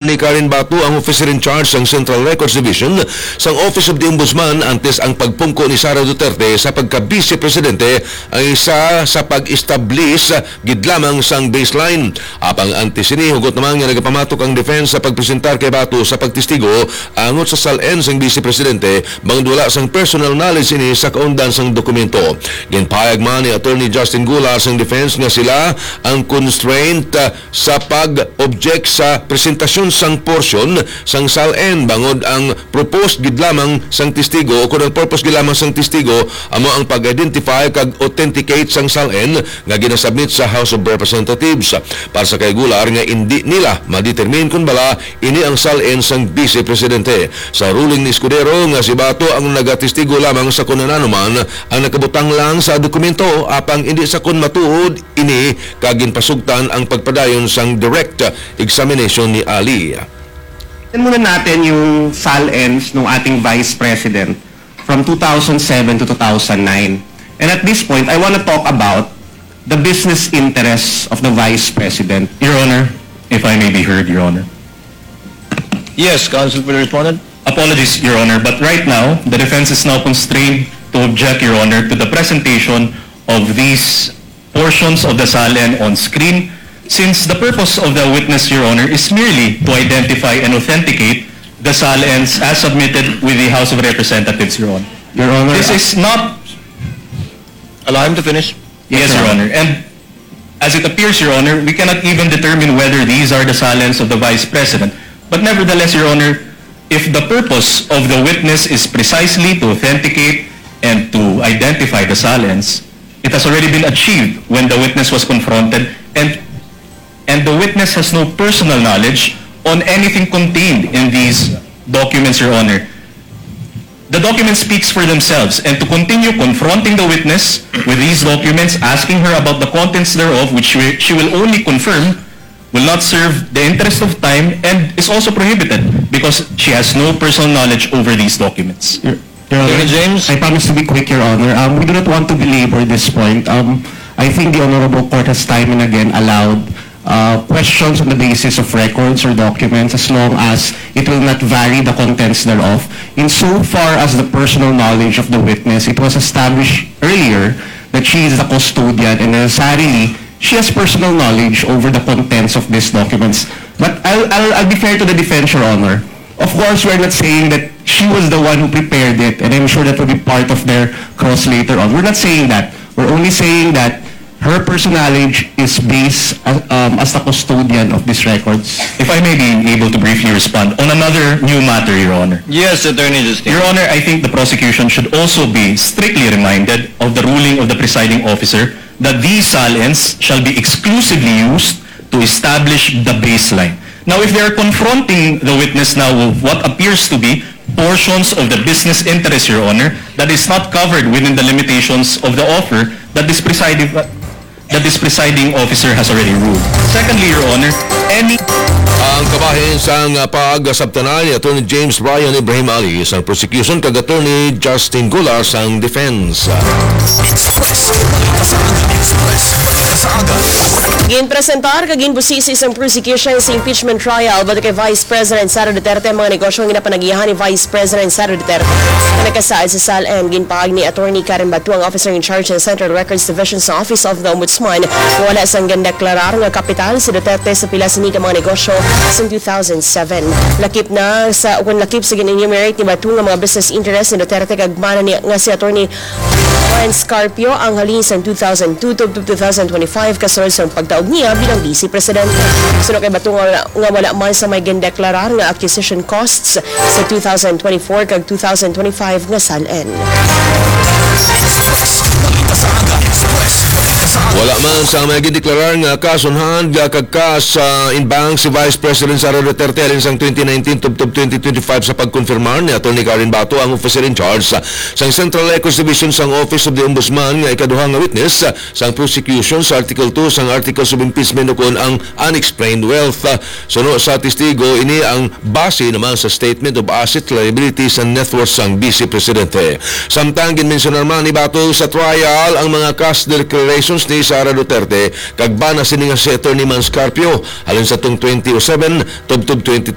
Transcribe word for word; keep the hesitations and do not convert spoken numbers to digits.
ni Karen Bato ang officer in charge sang Central Records Division sang Office of the Ombudsman antes ang pagpungko ni Sara Duterte sa pagka-Vice Presidente ang isa sa pag-establish gid lamang sang baseline. Apang antes sini, hugot naman nga nagapamatok ang defense sa pagpresentar kay Bato sa pagtestigo angot sa SALN sang Vice Presidente bangod wala sang personal knowledge ini sa kaundan sang dokumento. Ginpahayag man ni Attorney Justin Gular sang defense nga sila ang constraint, ah, sa pag-object sa presentasyon sang portion sang SALN bangod ang proposed gid lamang sang testigo o kung ang purpose gid lamang sang testigo amo ang pag-identify kag authenticate sang SALN nga ginasubmit sa House of Representatives. Para sa kay Gular nga indi nila ma-determine kon bala ini ang SALN sang Vice Presidente. Sa ruling ni Escudero nga si Bato ang nagatestigo lamang sa kon ano man ang nakabutang lang sa dokumento, apang indi sa kon matuod ini kag ginpasugtan ang pagpadayon sang direct examination ni Ali. Tingnan muna natin yung SALNs ng ating Vice President from two thousand seven to two thousand nine. And at this point, I want to talk about the business interests of the Vice President. Your Honor, if I may be heard, Your Honor. Yes, Counsel for the Respondent. Apologies, Your Honor, but right now, the defense is now constrained to object, Your Honor, to the presentation of these portions of the SALN on screen, since the purpose of the witness, Your Honor, is merely to identify and authenticate the SALNs as submitted with the House of Representatives, Your Honor. Your Honor, This uh, is not Allow him to finish. Yes, Your Honor. And as it appears, Your Honor, we cannot even determine whether these are the SALNs of the Vice President. But nevertheless, Your Honor, if the purpose of the witness is precisely to authenticate and to identify the SALNs, it has already been achieved when the witness was confronted and, and the witness has no personal knowledge on anything contained in these documents, Your Honor. The documents speaks for themselves, and to continue confronting the witness with these documents, asking her about the contents thereof, which she she will only confirm, will not serve the interest of time and is also prohibited because she has no personal knowledge over these documents. Your, Your Honor, Attorney James? I promise to be quick, Your Honor. Um, we do not want to belabor this point. Um, I think the Honorable Court has time and again allowed uh, questions on the basis of records or documents as long as it will not vary the contents thereof. In so far as the personal knowledge of the witness, it was established earlier that she is the custodian and necessarily she has personal knowledge over the contents of these documents. But I'll, I'll, I'll be fair to the defense, Your Honor. Of course, we're not saying that she was the one who prepared it, and I'm sure that will be part of their cross later on. We're not saying that. We're only saying that her personal knowledge is based, uh, um, as the custodian of these records. If I may be able to briefly respond on another new matter, Your Honor. Yes, Attorney Justin. Your Honor, I think the prosecution should also be strictly reminded of the ruling of the presiding officer that these SALNs shall be exclusively used to establish the baseline. Now, if they are confronting the witness now of what appears to be portions of the business interest, Your Honor, that is not covered within the limitations of the offer that this presiding, that this presiding officer has already ruled. Secondly, Your Honor, any Ang kabahin sang, ah, pag-asabtanan ni Attorney James Brian Ibrahim Ali sang prosecution kag Attorney Justin Gular sang defense. Express. Balita sa Aga. Express. Balita sa Aga. Ginpresentar kag ginbusisi sang prosecution sa impeachment trial batok kay Vice President Sara Duterte ang mga negosyo nga ginapanagihan ni Vice President Sara Duterte nga nakasaad sa SALN. Ginpahayag ni Attorney Karen Bato, ang officer in charge sa Central Records Division sa Office of the Ombudsman, nga wala sang gindeklarar nga kapital si Duterte sa pila sini ka mga negosyo sa two thousand seven. Lakip na sa, kung lakip sa gin-enumerate ni Bato nga mga business interest ni Duterte kag mana ni, nga si Attorney Lawrence Carpio ang halin sang two thousand two tubtob two thousand twenty-five kasunod sang pagtaog niya bilang Vice Presidente. Suno kay Bato nga wala, nga wala man sa may gindeklarar nga acquisition costs sa two thousand twenty-four kag two thousand twenty-five nga SALN. Express. Balita sa Aga. Express. Balita sa Aga. Wala man sa may gindeklarar nga cash on hand nga kag cash, ah, in bank si Vice President Sara Duterte halin sang twenty nineteen tubtob twenty twenty-five sa pagkonfirmar ni Attorney Karen Bato, ang officer in charge sa, sang Central Records Division sang Office of the Ombudsman, nga ikaduha nga witness, ah, sang prosecution sa Article two sang Articles of Impeachment ukon ang unexplained wealth. Ah, suno sa testigo, ini ang base naman sa Statement of Assets, Liabilities, and Net Worth sang Vice Presidente. Samtang ginmensyonar man ni Bato sa trial ang mga cash declarations ni Sara Duterte kag bana sini nga si Attorney Mans Carpio halin sa tuong twenty oh seven tubtob twenty